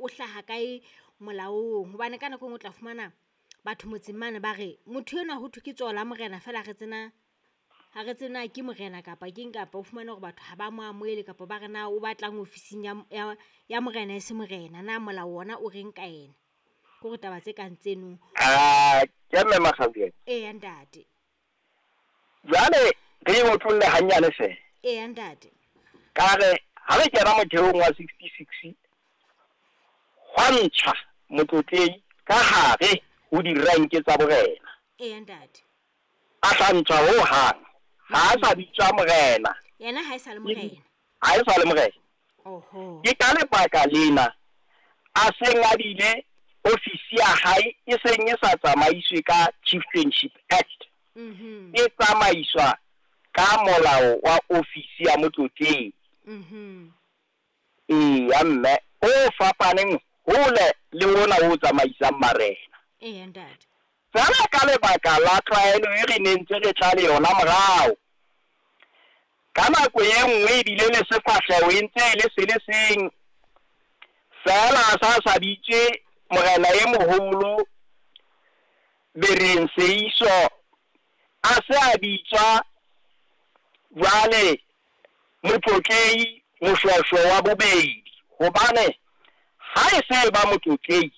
o hlaha kae molaong. Hobane ka nako e nngwe o tla fumana batho motseng mane ba re motho enwa ho thwe ke tsoho la morena feela ha re tsebe na, ha re tsebe na ke morena kapa keng. Kapa o fumane hore batho ha ba mo amohele kapa ba re na o batlang ofising ya ya morena e se morena. Na molao ona o reng ka ena? Ke hore taba tse kang tseno. Ke mme Makgabeng. Eya ntate. Jwale re e otlolle hanyane feela. Eya ntate. Ka re ha re kena motheong wa 66 hwa ntshwa motlotlehi ka hare ho direnke tsa borena. Eya ntate. A sa ntshwa ho hang. Ha a sa bitswa morena. Yena ha e sa le morena. Ha e sa le morena. Oho. Ke ka lebaka lena a seng a bile ofisi ya hae e seng e sa tsamaiswe ka Chieftainship Act. E tsamaiswa ka molao wa ofisi ya motlotlehi. Eya mme, o fapaneng hole le ona o tsamaisang marena. Eya ntate. Feela ka lebaka la tlwaelo e re ne ntse re tla le yona morao. Ka nako e nngwe ebile le sefahleho e ntse e le se le seng. Feela a sa sa bitswe morena e moholo Bereng Seiso, a se a bitswa jwale motlotlehi Moshweshwe wa bobedi. Hobane ha e se ba motlotlehi,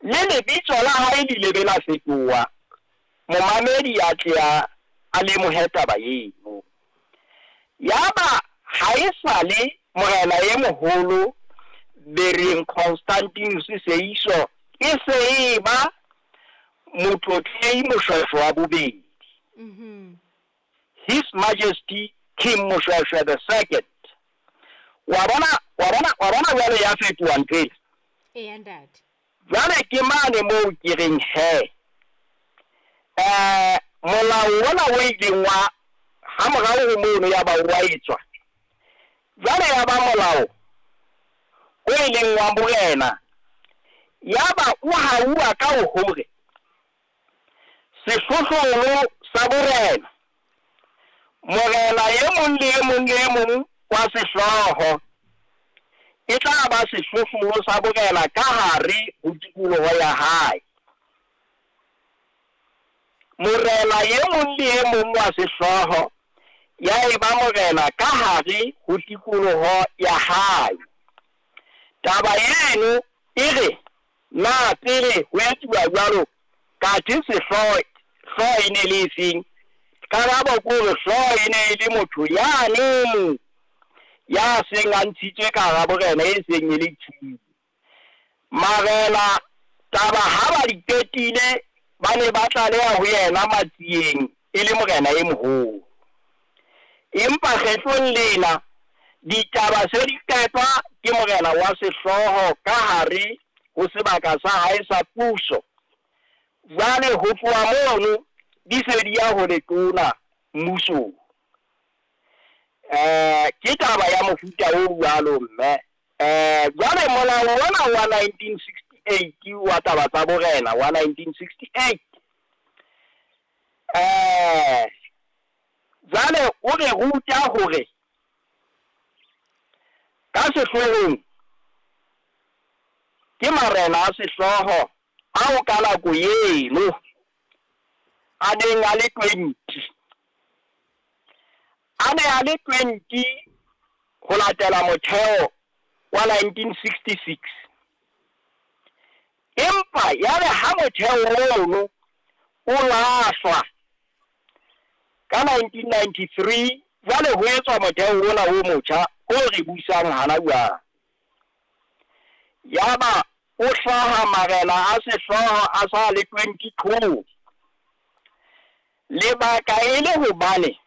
le lebitso la hae le ile be la fetoha. Momamedi a tle a lemohe taba eno. Yaba ha e sale morena e moholo Bereng Constantinus Seiso, e se e ba motlotlehi Moshweshwe wa bobedi. His Majesty King Moshweshwe the Second. Wa bona, wa bona, wa bona jwale ya fetoha ntho ena. Eya ntate. Jwale ke mane moo ke reng he. Molao ona o ileng wa ha morao ho mono ya ba wa etswa. Jwale ya ba molao o ileng wa morena. Ya ba o hauwa ka hore sehlohlolo sa borena, morena e mong le e mong le e mong wa sehlooho e tla ba sehlohlolo sa borena ka hare ho tikoloho ya hae. Morena e mong le e mong wa sehlooho ya eba morena ka hare ho tikoloho ya hae. Taba eno e re na pele ho etsuwa jwalo kathe sehlooho hlooho e ne le efeng? Karabo ke hore hlooho e ne e le motho yane ya seng a ntshitswe ka hara borena e seng e le chief. Marena taba ha ba di qetile ba ne ba tlaleha ho yena Matsieng e le morena e moholo. Empa kgetlong lena ditaba se di qetwa ke morena wa sehlooho ka hare ho sebaka sa hae sa puso. Jwale ho tloha mono di se di ya ho letona mmusong. Ke taba ya mofuta o jwalo mme. Jwale molao ona wa 1968 wa taba tsa borena wa 1968. Jwale o re ruta hore ka sehloohong ke marena a sehlooho ao ka nako eno a neng a le 20. A ne a le 20 ho latela motheo wa 1966. Empa yare ha motheo ono o lahlwa ka 1993, jwale ho etswa motheo ona o motjha o re buisang hana jwale. Yaba o hlaha marena a sehlooho a sa le 22. Lebaka e le hobane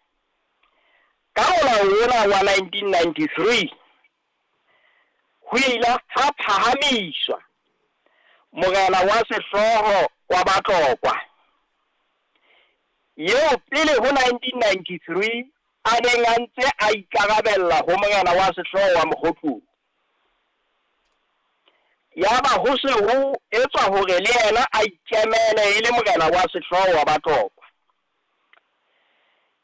ka molao ona wa 1993 ho ile ha phahamiswa morena wa sehlooho wa Batlokwa eo pele ho 1993 a neng a ntse a ikarabella ho morena wa sehlooho wa Mokgotlong. Yaba ho se ho etswa hore le yena a ikemele e le morena wa sehlooho wa Batlokwa.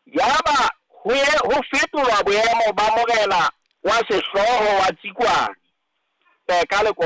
Yaba ho fetolwa boemo ba morena wa sehlooho wa Tsikwane ka lekolo.